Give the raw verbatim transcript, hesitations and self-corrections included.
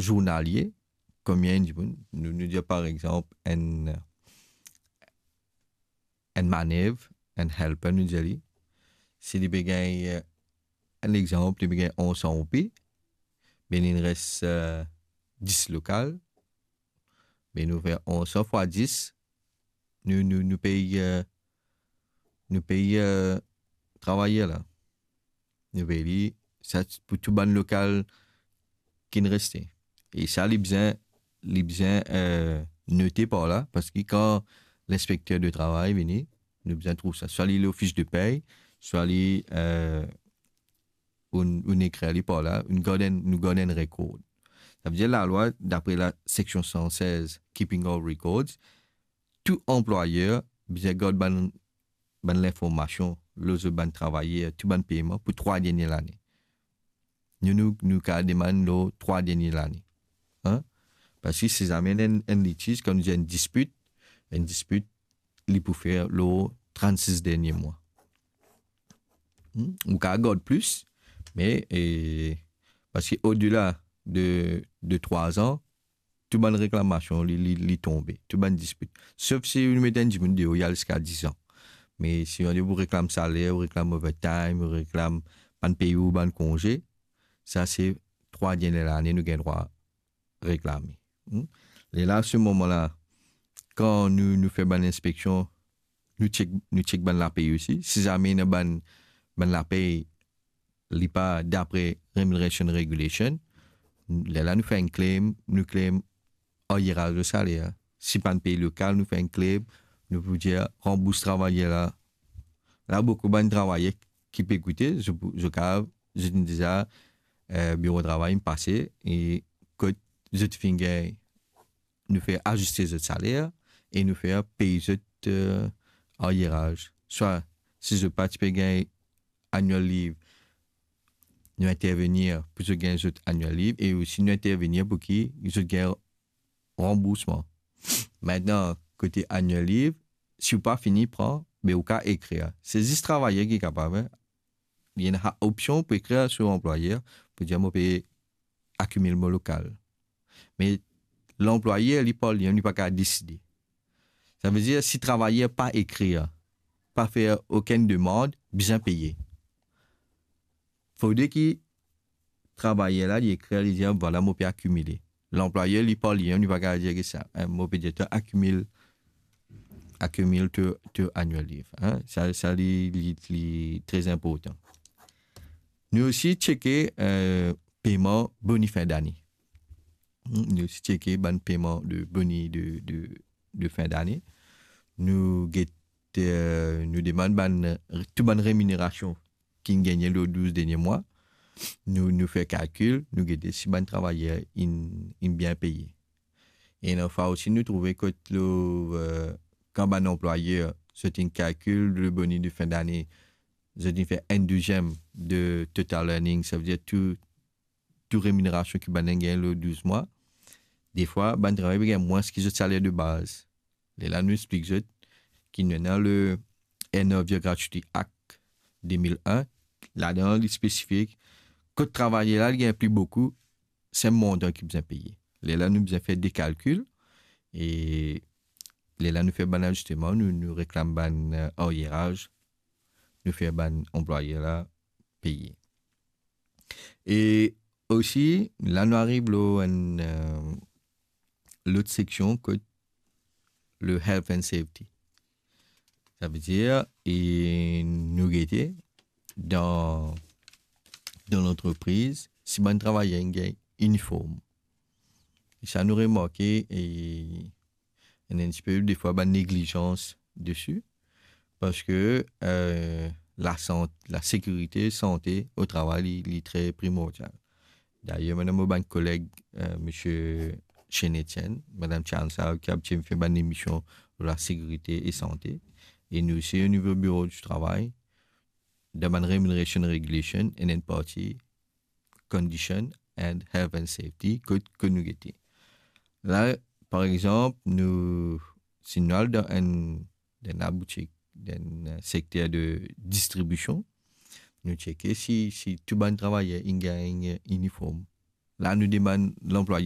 zournalie, konbien dimoun, nou, nou dir par exanp, enn, enn manev, enn helper, nou dir li, si li pe gagn, eh, enn exanp, li pe gagn onz san roupi, be li res, eh, dis lokal, be nou fer onz san fwa dis, nou, nou, nou pey, eh, nou pey, eh, travayer la. Nou pey li, sa pou tou bann lokal ki'nn reste. E sa, li bizin, li bizin, eh, note par la, parski kan linspekter de travay vini, nou bizin trouv sa. Swa li lor fis de pey, swa li, eh, ou, ou ekrir li par la, nou gard enn, nou gard enn rekord. Savedir lalwa, dapre la seksion san sez, Keeping of Records, tou anplwayer bizin gard bann, bann linformasion lor zot bann travayer, tou bann peyman pou trwa dernie lane. Nou, nou, nou kav demann lor trwa dernie lane. Hein? Parski si zame enn, enn litiz, kan nou dir enn dispit, enn dispit, li pou fer lor trannsis dernie mwa. Hmm? Ou kav gard plis, me, eh, parski odela de, de trwa an, tou bann reklamasion, li, li, li tonbe, tou bann dispit. Sof si ou met enn dimoun deor, li al ziska diz an. Me si ou reklam saler, ou reklam overtime, ou reklam bann peye ou bann konze, sa se trwa dernie lane nou gagn drwa reklame. Hmm? Lerla, se moman la, kan nou, nou fer bann inspeksion, nou check, nou check bann lapey osi. Si zame ena bann, bann lapey, li pa dapre Remuneration Regulation, lerla nou fer enn claim, nou claim aryeraz de saler. Si pa'nn pey lokal, nou fer enn claim, nou pou dir ranbours travayer la. La, boukou bann travayer ki pe ekoute, zot, zot kav, zot inn deza, eh, biro travay inn pase, e kot zot finn gagn, nou fer aziste zot saler, e nou fer pey zot, eh, aryeraz. Swa, si zot pa ti pe gagn annual leave, nou intervenir pou zot gagn zot annual leave, e osi nou intervenir pou ki zot gagn ranboursman. Aster, kote annual leave, si ou pa fini pran, be ou kav ekrir. Se zis travayer ki kapav, hein. Li ena opsion pou ekrir so anplwayer, pou dir, mo pe akimil mo lokal. Me lanplwayer, li par li mem, li pa kav deside. Savedir, si travayer pa ekrir, pa fer okenn demann, bizin peye. Fode ki travayer la, li ekrir, li dir, vwala, mo pe akimile. Lanplwayer, li par li mem, li pa kav dir ki sa, hein, mo pe dir to akimil, akimil to, to annual leave, hein. Sa, sa li, li, li tre inportan. Nou osi cheke, eh, peyman boni fin dane. Hmm, nou osi cheke bann peyman de boni de, de, de fin dane. Nou get, eh, nou demann bann, tou bann reminerasion ki'nn gagne lor douz dernie mwa. Nou, nou fer kalkil, nou gete si bann travayer inn, inn bien peye. E ena fwa osi nou trouve kot lor, eh, kan bann anplwayer, zot inn kalkil le boni de fin dane, zot inn fer enn douziem de total earnings, savedir tou, tou reminerasion ki bann inn gagn lor douz mwa. Defwa, bann travayer pe gagn mwins ki zot saler de baz. Lerla nou explik zot ki nou ena le Earner of Year Gratuity Act de mil enn, ladan li spesifie kot travayer la, li gagn pli boukou, se montan ki bizin peye. Lerla nou bizin fer de kalkil, e lerla nou fer bann azisteman, nou, nou reklam bann, eh, aryeraz, nou fer bann anplwayer la peye. E osi, la nou ariv lor enn, eh, lot seksion kot le health and safety. Savedir, e nou gete dan, dan lantrepriz, si bann travayer inn gagn iniform. E sa nou remarke, e ena enn tipe defwa bann neglizans desi, parski, eh, lasant-, lasekirite, sante o travay, li, li tre primordial. Dayer, mo ena mo bann koleg, eh, misie Shane Etienne, madam Charles Sav, ki abitie fer bann emision lor lasekirite e sante. E nou osi, o nivo biro di travay, dan bann remuneration regulation, ena enn parti condition and health and safety, kot, kot nou gete. La, par exanp, nou, si nou al dan enn, dan enn laboutik, dan enn, eh, sekter de distribision, nou cheke si, si tou bann travayer inn gagn iniform. La, nou demann lanplwayer